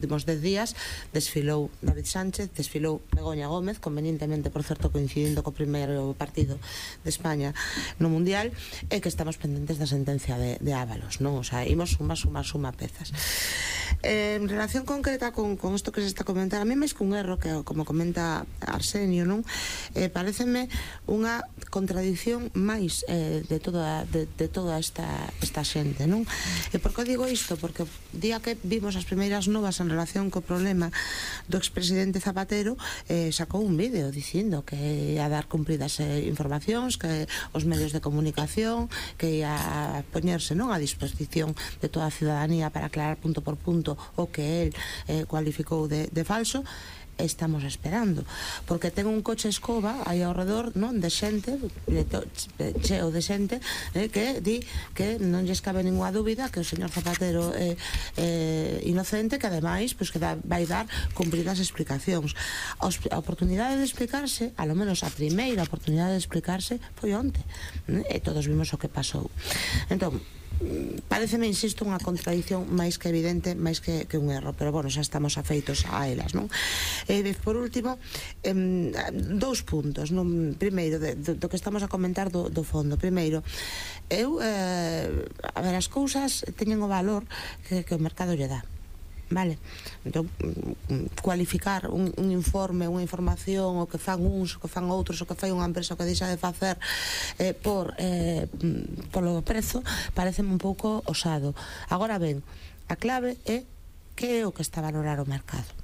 últimos 10 días desfilou David Sánchez, desfilou Begoña Gómez, convenientemente, por certo, coincidindo co primeiro partido de España no Mundial, e que estamos pendentes da sentencia de Ábalos, non? O sea, imos suma pezas. En relación concreta con isto que se está a comentar, a mí máis que un erro, que como comenta Arsenio, non? Pareceme unha contradición máis de toda esta xente, non? E por que digo isto? Porque o día que vimos as primeiras novas en relación co problema do expresidente Zapatero, sacou un vídeo dicindo que ia dar cumpridas informacións, que os medios de comunicación, que ia poñerse, non, a disposición de toda a ciudadanía para aclarar punto por punto o que el cualificou de falso. Estamos esperando, porque ten un coche escoba aí ao redor, non, de xente, cheo de xente, que di que non lles cabe ninguna dúbida que o señor Zapatero é inocente, que ademais que vai dar cumpridas explicacións. A oportunidade de explicarse, alo menos a primeira oportunidade de explicarse, foi onte, e todos vimos o que pasou. Entón, pareceme, insisto, unha contradición máis que evidente, máis que un erro, pero bueno, xa estamos afeitos a elas, non? Por último, dous puntos, non? Primeiro, do que estamos a comentar do fondo. Primeiro, a ver, as cousas teñen o valor que o mercado lle dá, vale? Entón, cualificar un informe, unha información, o que fan uns, o que fan outros, o que fai unha empresa, o que deixa de facer polo prezo, pareceme un pouco osado. Agora ben, a clave é que é o que está a valorar o mercado.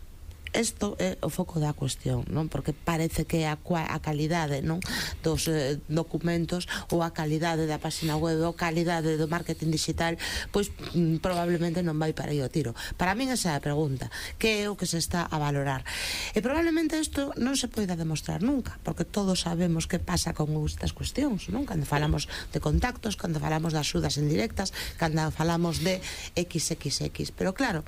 Isto é o foco da cuestión, non? Porque parece que a calidade, non, dos documentos, ou a calidade da página web, ou a calidade do marketing digital, pois probablemente non vai para aí o tiro. Para min esa é a pregunta, que é o que se está a valorar? E probablemente isto non se poida demostrar nunca, porque todos sabemos que pasa con estas cuestións, non? Cando falamos de contactos, cando falamos de axudas indirectas, cando falamos de XXX, pero claro,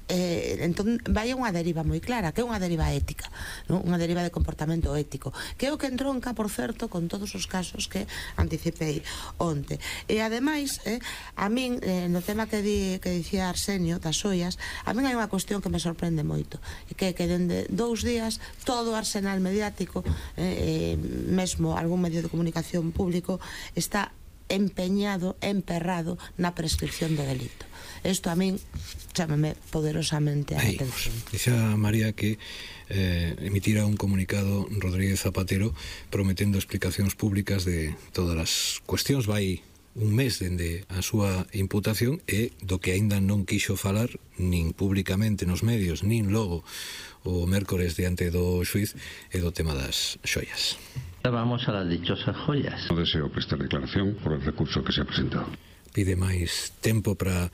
entón vai unha deriva moi clara, que é unha deriva ética, non? Unha deriva de comportamento ético, que é o que entronca, por certo, con todos os casos que anticipei onte. E ademais, a min, no tema que dicía Arsenio das xoias, a min hai unha cuestión que me sorprende moito, que dende 2 días todo o arsenal mediático, mesmo algún medio de comunicación público, está emperrado na prescripción do delito. Isto a min chámame poderosamente a atención. Dice a María que emitira un comunicado Rodríguez Zapatero prometendo explicacións públicas de todas as cuestións. Vai un mes dende a súa imputación e do que aínda non quixo falar nin públicamente nos medios, nin logo o mércores diante do xuiz, e do tema das xoias. Vamos a las dichosas joyas. No deseo prestar declaración por el recurso que se ha presentado. Pide máis tempo para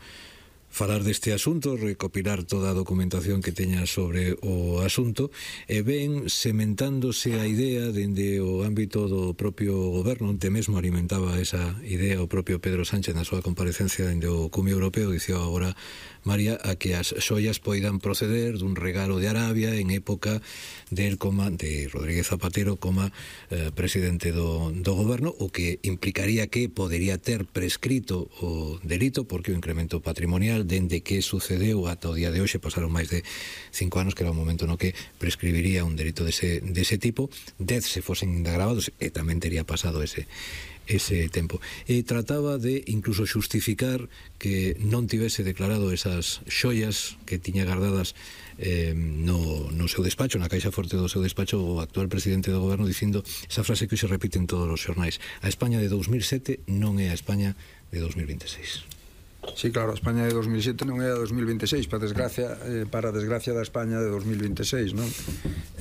falar deste asunto, recopilar toda a documentación que teña sobre o asunto, e ven sementándose a idea dende o ámbito do propio goberno. Onte mesmo alimentaba esa idea o propio Pedro Sánchez na súa comparecencia dende o Cumio Europeo. Dicía agora María a que as xoias poidan proceder dun regalo de Arabia en época de Rodríguez Zapatero como presidente do goberno, o que implicaría que podería ter prescrito o delito, porque o incremento patrimonial dende que sucedeu ata o día de hoxe pasaron máis de 5 anos, que era o momento no que prescribiría un delito dese tipo. 10 se fosen indagravados, e tamén tería pasado ese tempo. E trataba de incluso xustificar que non tivese declarado esas xoias que tiña guardadas no seu despacho, na caixa forte do seu despacho, o actual presidente do goberno, dicindo esa frase que se repite en todos os xornais: a España de 2007 non é a España de 2026. Sí, claro, a España de 2007 non é a 2026, para a desgracia da España de 2026, non?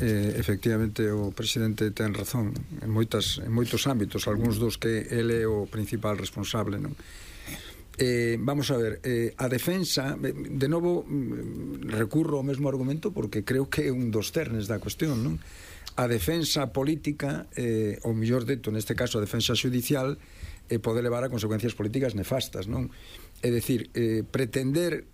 Efectivamente, o presidente ten razón en moitos ámbitos, algúns dos que ele é o principal responsable, non? Vamos a ver, a defensa, de novo recurro ao mesmo argumento porque creo que é un dos cernes da cuestión, non? A defensa política, ou mellor dito, neste caso a defensa judicial, pode levar a consecuencias políticas nefastas, non? É dicir, pretender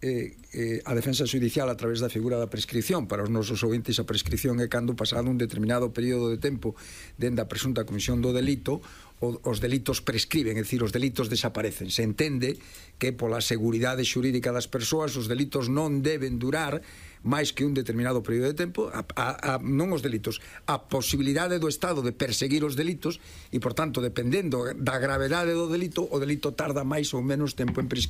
a defensa judicial a través da figura da prescripción. Para os nosos ouvintes, a prescripción é cando pasado un determinado período de tempo dende a presunta comisión do delito, os delitos prescriben, é dicir, os delitos desaparecen. Se entende que pola seguridade xurídica das persoas os delitos non deben durar máis que un determinado período de tempo, non os delitos, a posibilidade do Estado de perseguir os delitos, e, por tanto, dependendo da gravedade do delito, o delito tarda máis ou menos tempo en prescribir.